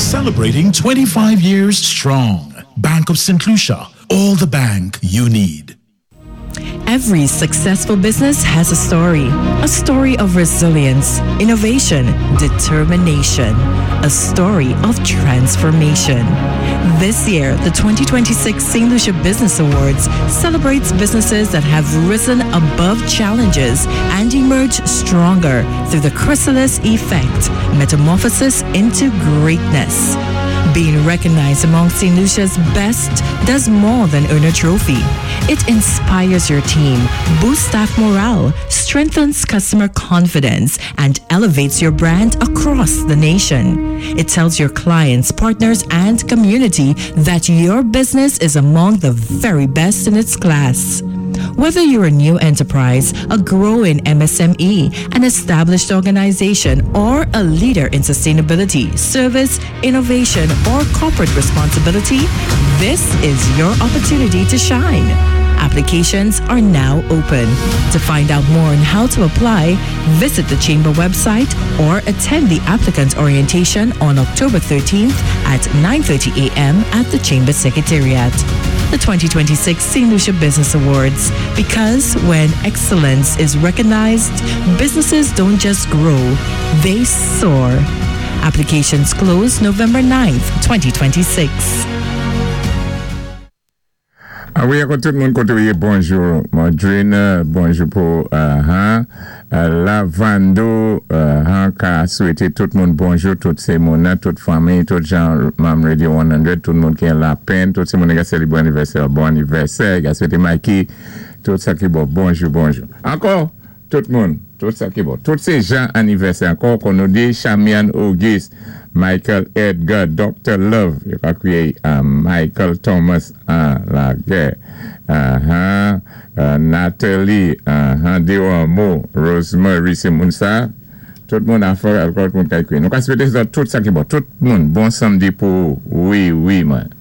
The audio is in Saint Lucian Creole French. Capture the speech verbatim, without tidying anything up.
Celebrating twenty-five years strong. Bank of Saint Lucia, all the bank you need. Every successful business has a story. A story of resilience, innovation, determination. A story of transformation. This year, the twenty twenty-six Saint Lucia Business Awards celebrates businesses that have risen above challenges and emerged stronger through the chrysalis effect, metamorphosis into greatness. Being recognized among Saint Lucia's best does more than earn a trophy. It inspires your team, boosts staff morale, strengthens customer confidence, and elevates your brand across the nation. It tells your clients, partners, and community that your business is among the very best in its class. Whether you're a new enterprise, a growing M S M E, an established organization, or a leader in sustainability, service, innovation, or corporate responsibility, this is your opportunity to shine. Applications are now open. To find out more on how to apply, visit the Chamber website or attend the applicant orientation on October thirteenth at nine thirty a m at the Chamber Secretariat. The twenty twenty-six Saint Lucia Business Awards. Because when excellence is recognized, businesses don't just grow, they soar. Applications close November ninth, twenty twenty-six. A wi, ankò tout moun koté bonjou. Madrina, bonjou pou uh, uh, Lavando, uh, ka swété tout moun bonjou, tout sé moun, tout fanmi, tout jan manm Radio san, tout moun ki an Lapèn, tout sé moun ki sélébré anivèsè, bon anivèsè, ka swété Mikey, tout sa ki bon, bonjou, bonjou. Ankò, tout moun, tout sa ki bon, tout sé jan anivèsè, ankò kon nou di Chamian Auguste, Michael Edgar, Doctor Love, yo ka kwiyé Michael Thomas an lagè, uh-huh, uh, Natalie, uh-huh, Dewamo, Rosemary, sé moun sa, tout moun afè, ankò tout moun ka kwiyé. Nou ka swété tout sa ki bon, tout moun, bon samdi pou, wi, wi, man.